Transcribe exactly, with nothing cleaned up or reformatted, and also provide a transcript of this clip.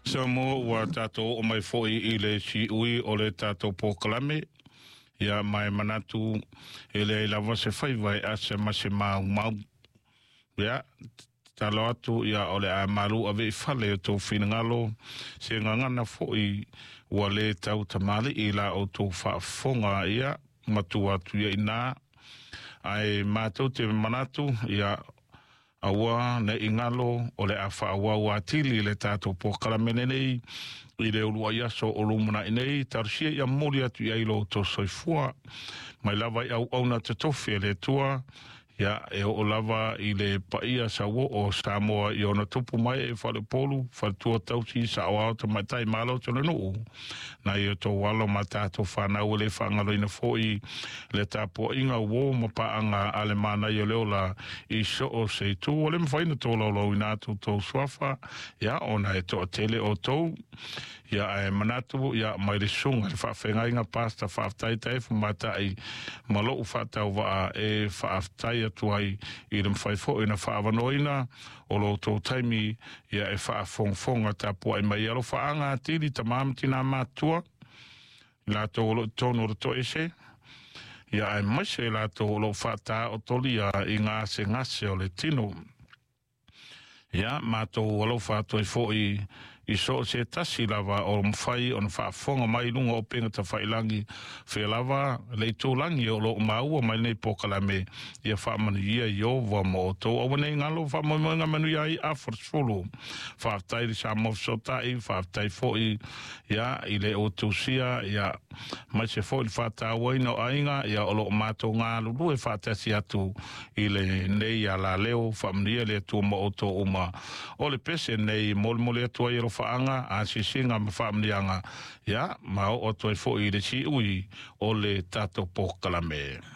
Samoa ua tatou oo mai foi i le siui o le tatou polokalame. Ia ma e manatu e leai lava se faiva e asa ma se maumau. Ia tatalo atu ia o le a malu ave i fale o tou finagalo se gagana foi ua le tau tamalii la outou faafofoga ia matua atu ia ina ae matou te manatu ia aua ne i galo o le a faaauau atili le tatou polokalame lenei i le uluai aso o lumanai nei. Talosia ia momoli atu i ai lo outou soifua mai lava i auauna totofi a le Atua ia e oo lava i le paia sauoo o Samoa i ona tupu mai e faleupolu faletua tausi saoao tamaitai malo o le nuu nai o tou alo ma tatou fanau e le faagaloina foi le tapuaiga uo ma paaga a le manaia o le ola i so o se itu o le mafai ona tolaulauina atu tou suafa ia ona e toatele outou ia ae manatu ia mai le susuga le faafeagaiga Pastor Faafetai Taefu Matai ma lou faatauvaa e faafetai atu ai i le mafai foi ona faaavanoaina o lo outou taimi ia e faafogafoga tapuai mai alofaaga atili tama ma tina matua i latou o lo o i totonu o le toese ia aemaise i latou o lo o faataotolia i gasegase o le tino. Ia matou alofa atu ai foi i so o se tasi lava o mafai ona faafofoga mai i luga o upega tafailagi fea lava le itulagi o lo o maua mai lenei polokalame ia faamanuia Ieova ma outou. Aua ne i galo faamoemoega manuia ai afa sefulu. Faafetai i le Samoa Fesootai, faafetai foi ia i le outusia ia aemaise foi le faatauaina o aiga ia o lo o matou galulue faatasi atu i lenei alaleo. Faamanuia le Atua ma outou uma. O le pese nei molimoli atu ai alofaaga asiasiga ma faamanuiaga ia ma oo atu ai foi i le siui o le tatou polokalame.